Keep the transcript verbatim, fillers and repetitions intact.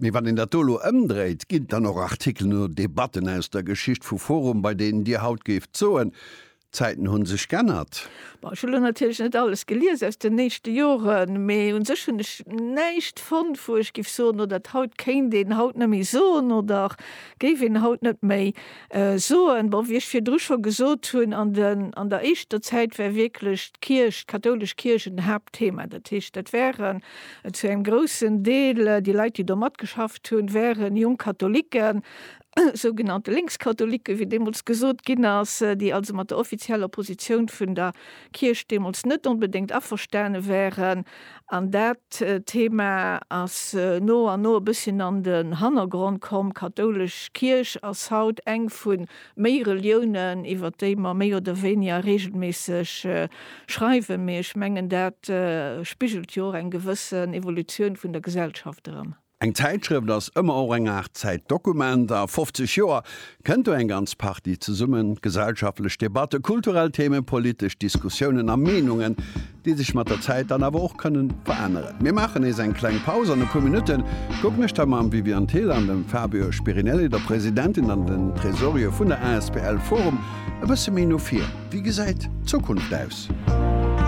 Mee wann een dat do elo ëmdréit, ginn et dann och Artikelen oder Debatten aus der Geschicht vu forum, bei deenen Dir haut géift soen, d'Zäiten hu sech g'ännert? Bon, ech hu lo natierlech net alles gelies aus den éischte Joren, mee un sech hunn ech näischt fonnt, wou ech géif soen, oh dat haut kéint een haut net méi soen oder géif een haut net méi soen. Bon, wéi ech virdru scho gesot hunn, an den, an der éischter Zäit war wierklech d'Kierch, d'kathoulesch Kierch en Haaptthema. Dat heescht, dat waren zu engem groussen Deel déi Leit, déi do matgeschafft hunn, waren jonk Katholiken, sougenannte Lénkskatholiken, wéi deemools gesot ginn ass, déi also mat der offizieller Positioun vun der Kierch deemools net onbedéngt averstane wären. An dat Thema ass no an no e bësschen an den Hannergrond komm. D'kathoulesch Kierch ass haut eng vu méi Reliounen, iwwer déi mer méi oder wéiniger regelméisseg schreiwen. Mee ech mengen, dat spigelt jo och eng gewëssen Evolutioun vun der Gesellschaft erëm. Eng Zäitschrëft ass ëmmer och eng Aart Zäitdokument. A fofzeg Joer kënnt do eng ganz Partie zesummen, gesellschaftlech Debatte, kulturell Themen, politesch Diskussiounen a Meenungen, déi sech mat der Zäit dann awer och kënnen veränneren. Mir maachen nees eng kleng Paus. An e puer Minutte kucken ech da mam Viviane Thill an dem Fabio Spirinelli, der Presidentin an den Tresorier vun der asbl Forum, e bësse méi no vir. Wéi gesäit d'Zukunft aus?